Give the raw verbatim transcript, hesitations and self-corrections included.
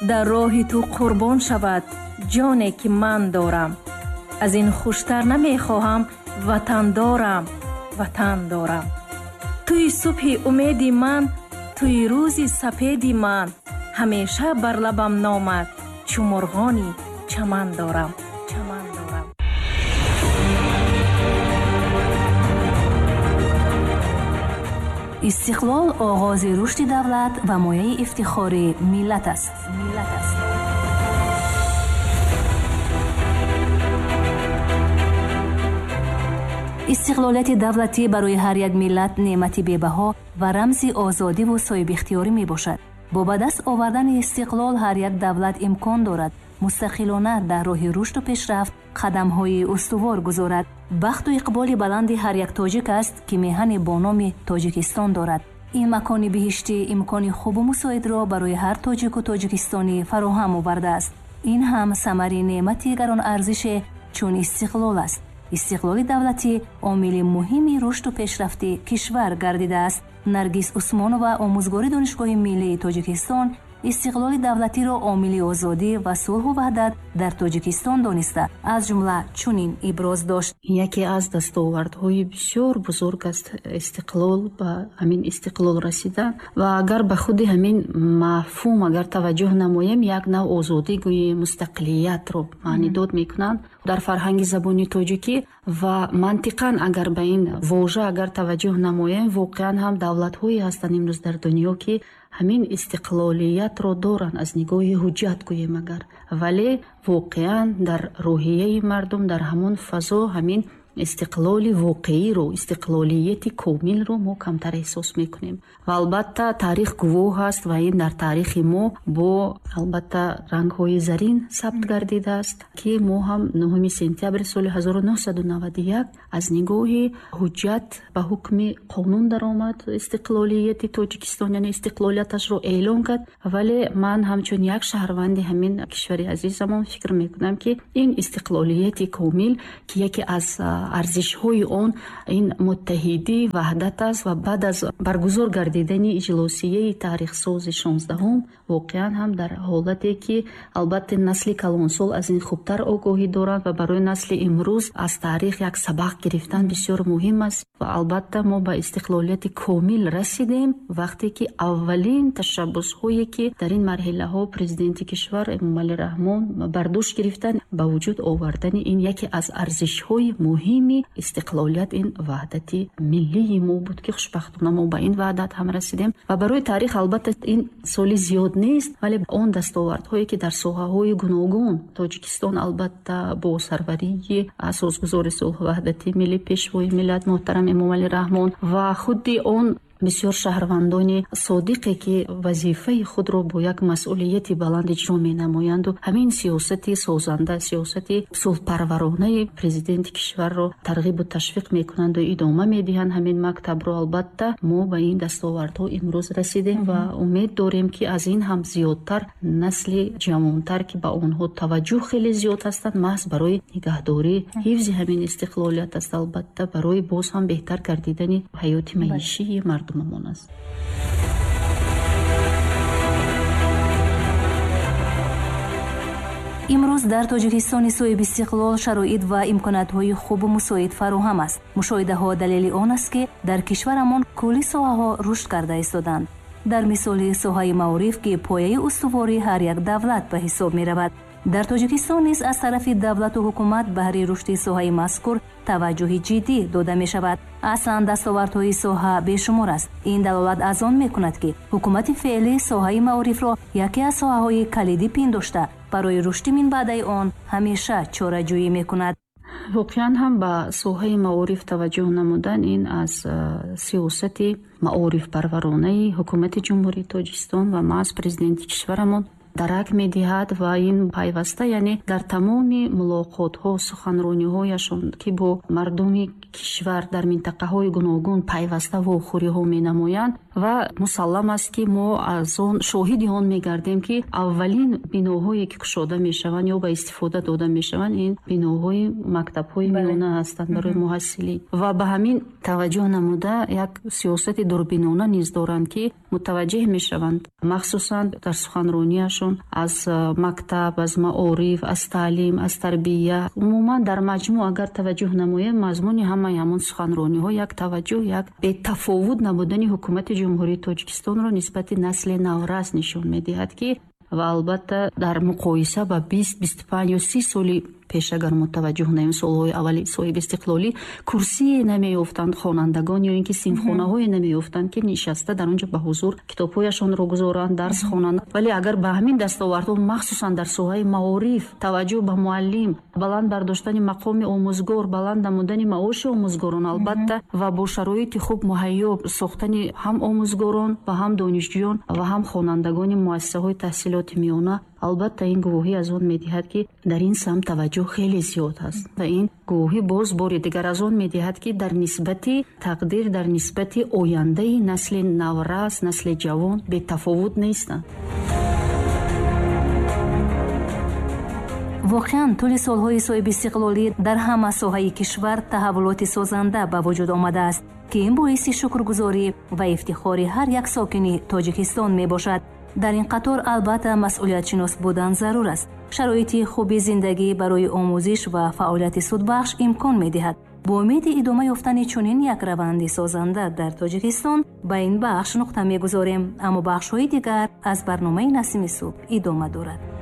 Дар роҳи ту қурбон шавад ҷоне ки ман дорам. Аз ин хуштар намехоҳам, ватан дорам, ватан дорам. Туи субҳи умеди ман, туи рӯзи сапеди ман, ҳамеша бар лабам номад, чу мурғони чаман дорам, чаман дорам. Истиқлол оғози рушди давлат ва мояи ифтихори миллат аст. Миллат аст. Истиқлолияти давлатӣ барои ҳар як миллат неъмати бебаҳо ва рамзи озодиву соҳибихтиёрӣ мебошад. Бо ба даст овардани истиқлол ҳар як давлат имкон дорад мустақилона дар роҳи рушду пешрафт қадамҳои устувор гузорад. Бахту иқболи баланди ҳар як тоҷик аст, ки меҳане бо номи Тоҷикистон дорад. Ин макони биҳиштӣ имкони хубу мусоидро барои ҳар тоҷику тоҷикистонӣ фароҳам овардааст. Ин ҳам самари неъмати гаронарзише чун истиқлол аст. Истиқлоли давлатӣ омили муҳими рушду пешрафти кишвар гардидааст. Наргиз Усмонова, омӯзгори Донишгоҳи миллии Тоҷикистон, истиқлоли давлатиро омили озодӣ ва сулҳу ваҳдат дар Тоҷикистон дониста, аз ҷумла чунин иброз дошт. Яке аз дастовардҳои бисёр бузург аст истиқлол, ба ҳамин истиқлол расидан. Ва агар ба худи ҳамин мафҳум агар таваҷҷӯҳ намоем, як нав озодӣ гӯем, мустақилиятро маънидод мекунанд дар фарҳанги забони тоҷикӣ. Ва мантиқан агар ба ин вожа агар таваҷҷӯҳ намоем, воқеан ҳам давлатҳое ҳастанд имрӯз дар дунё, ки ҳамин истиқлолиятро доранд аз нигоҳи ҳуҷҷат гӯем агар, вале воқеан дар рӯҳияи мардум, дар ҳамон фазо ҳамин истиқлоли воқеиро, истиқлолияти комилро мо камтар эҳсос мекунем. Ва албатта таърих гувоҳ аст ва ин дар таърихи мо бо албатта рангҳои зарин сабт гардидааст, ки мо ҳам нӯҳуми сентябри соли ҳазору нӯҳсаду наваду як аз нигоҳи ҳуҷҷат ба ҳукми қонун даромад истиқлолияти Тоҷикистон, яъне истиқлолияташро эълон кард. Вале ман ҳамчун як шаҳрванди ҳамин кишвари азизамон фикр мекунам, ки ин истиқлолияти комил, ки яке аз арзишҳои он ин муттаҳидӣ, ваҳдат аст ва баъд аз баргузор гардидани иҷлосияи таърихсози шонздаҳум воқеан ҳам дар ҳолате ки албатта насли калонсол аз ин хубтар огоҳӣ доранд ва барои насли имрӯз аз таърих як сабақ гирифтан бисёр муҳим аст. Ва албатта мо ба истиқлолияти комил расидем вақте ки аввалин ташаббусҳое ки дар ин марҳилаҳо президенти кишвар Эмомалӣ Раҳмон бар дӯш гирифтанд, ба вуҷуд овардани ин яке аз арзишҳои муҳим истиқлолият, ин ваҳдати миллии мо буд, ки хушбахтона мо ба ин ваҳдат ҳам расидем. Ва барои таърих албатта ин соли зиёд нест, вале он дастовардҳое ки дар соҳаҳои гуногун Тоҷикистон албатта бо сарварии асосгузори сулҳу ваҳдати миллӣ, пешвои миллат муҳтарам Эмомалӣ Раҳмон ва худи он бисёр шаҳрвандони содиқе ки вазифаи худро бо як масъулияти баланд иҷро менамоянду ҳамин сиёсати созанда, сиёсати сулҳпарваронаи президенти кишварро тарғибу ташвиқ мекунанду идома медиҳанд ҳамин мактабро, албатта мо ба ин дастовардҳо имрӯз расидем ва умед дорем, ки аз ин ҳам зиёдтар насли ҷавонтар, ки ба онҳо таваҷҷӯҳ хеле зиёд ҳастанд, маҳз барои нигаҳдорӣ, ҳифзи ҳамин истиқлолият аст, албатта барои боз ҳам беҳтар гардидани ҳаёти маишии мардум аст. Имрӯз дар Тоҷикистони соҳибистиқлол шароит ва имкониятҳои хубу мусоид фароҳам аст. Мушоҳидаҳо далели он аст, ки дар кишварамон кулли соҳаҳо рушд карда истоданд. Дар мисоли соҳаи маориф, ки пояи устувории ҳар як давлат ба ҳисоб меравад, дар Тоҷикистон низ аз тарафи давлату ҳукумат баҳри рушди соҳаи мазкур таваҷҷӯҳи ҷиддӣ дода мешавад. Аслан дастовардҳои соҳа бешумор аст. Ин далолат аз он мекунад, ки ҳукумати феълӣ соҳаи маорифро яке аз соҳаҳои калидӣ пиндошта, барои рушди минбаъдаи он ҳамеша чораҷӯӣ мекунад. Воқеан ҳам ба соҳаи маориф таваҷҷӯҳ намудан ин аз сиёсати маорифпарваронаи ҳукумати Ҷумҳурии Тоҷикистон ва маҳз президенти кишварамон дарак медиҳад ва ин пайваста, яъне дар тамоми мулоқотҳо, суханрониҳояшон, ки бо мардуми кишвар дар минтақаҳои гуногун пайваста вохӯриҳо менамоянд ва мусаллам аст, ки мо аз он шоҳиди он мегардем, ки аввалин биноҳое ки кушода мешаванд ё ба истифода дода мешаванд, ин биноҳои мактабҳои миёна ҳастанд барои муҳассилин. Ва ба ҳамин таваҷҷӯҳ намуда як сиёсати дурбинона низ доранд, ки мутаваҷҷеҳ мешаванд, махсусан дар суханронияшон худашон аз мактаб, аз маориф, аз таълим, аз тарбия. Умуман дар маҷмӯъ агар таваҷҷӯҳ намоем, мазмуни ҳамаи ҳамон суханрониҳо як таваҷҷӯҳ, як бетафовут набудани ҳукумати Ҷумҳурии Тоҷикистонро нисбати насли наврас нишон медиҳад, ки ва албатта дар муқоиса ба бист, бисту панҷ ё си соли пеш агар мо таваҷҷӯҳ наем, солҳои аввали соҳиби истиқлолӣ курсие намеёфтанд хонандагон ё ин ки синфхонаҳое намеёфтанд, ки нишаста дар он ҷо ба ҳузур китобҳояшонро гузоранд, дарс хонанд. Вале агар ба ҳамин дастовардҳо махсусан дар соҳаи маориф, таваҷҷӯҳ ба муаллим, баланд бардоштани мақоми омӯзгор, баланд намудани маоши омӯзгорон албатта ва бо шароити хуб муҳайё сохтани ҳам омӯзгорон ва ҳам донишҷӯён ва ҳам хонандагони муассисаҳои таҳсилоти миёна, албатта ин гувоҳӣ аз он медиҳад, ки дар ин самт таваҷҷӯҳ хеле зиёд аст ва ин гувоҳӣ боз бори дигар аз он медиҳад, ки дар нисбати тақдир, дар нисбати ояндаи насли наврас, насли ҷавон бетафовут нестанд. Воқеан, тӯли солҳои соҳибистиқлолӣ дар ҳама соҳаи кишвар таҳаввулоти созанда ба вуҷуд омадааст, ки ин боиси шукргузорӣ ва ифтихори ҳар як сокини Тоҷикистон мебошад. Дар ин қатор албатта масъулиятшинос будан зарур аст. Шароити хуби зиндагӣ барои омӯзиш ва фаъолияти судбахш имкон медиҳад. Бо умеди идома ёфтани чунин як раванди созанда дар Тоҷикистон ба ин бахш нуқта мегузорем, аммо бахшҳои дигар аз барномаи Насими субҳ идома дорад.